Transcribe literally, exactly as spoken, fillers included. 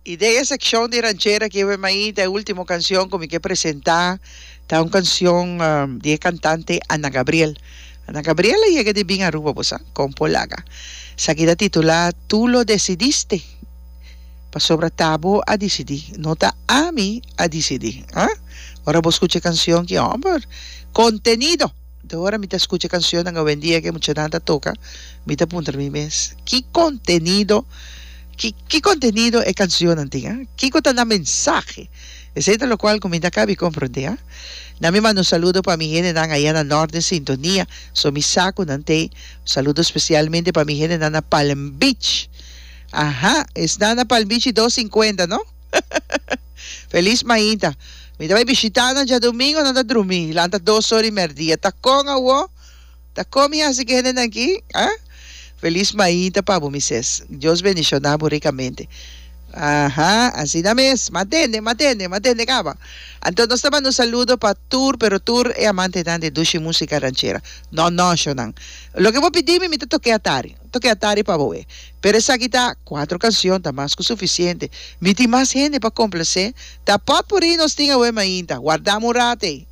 I den e sekshon di ranchera ki awe mainta e ultimo kanshon ku mi ke presentá ta un kanshon di e kantante Ana Gabriel. Ana Gabriel a yega di bin Aruba bo sa, kon por laga. Esaki ta titulá Tu lo decidiste, pasobra ta bo a disidí, no ta ami a disidí. Ah, ora bo skucha e kanshon ki hòmber, kontenido! Te ora mi ta skucha kanshonnan awendia ku e muchanan ta toka, mi ta puntra mi mes, ki kontenido, ki ki kontenido e kanshonnan tin, ah? Kiko ta nan mensahe? Esei ta lokual ku mi ta kabi komprondé, ah. Na mi manda un saludo pa mi hendenan aya na nort den sintonia, so mi sa ku nan t'ei. Un saludo spesialmente pa mi hendenan na Palm Beach. Aha, esnan na Palm Beach i dos sinkuenta, no? Felis mainta. Mi ta bai bishita nan djadumingo, nan ta drumi. Lanta dos ora i merdia. Ta kon awo? Ta kon mi hasi ku e hendenan aki? Ah? Felis mainta pa bo, mi ses. Dios bendishoná bo rikamente. Aha, asina mes. M'a tende, m'a tende, m'a tende kaba. Anto nos ta manda un saludo pa tur, pero tur e amantenan di dushi músika ranchera. No, no, shonnan. Loke bo pidi mi, mi ta tok'é atari. Toke atari pa bo e. Pero esaki ta cuatro cancion ta mas cu suficiente. Mi tin mas hende pa complacé. Ta potpourri nos tin awe mainta. Wardam un rat ey.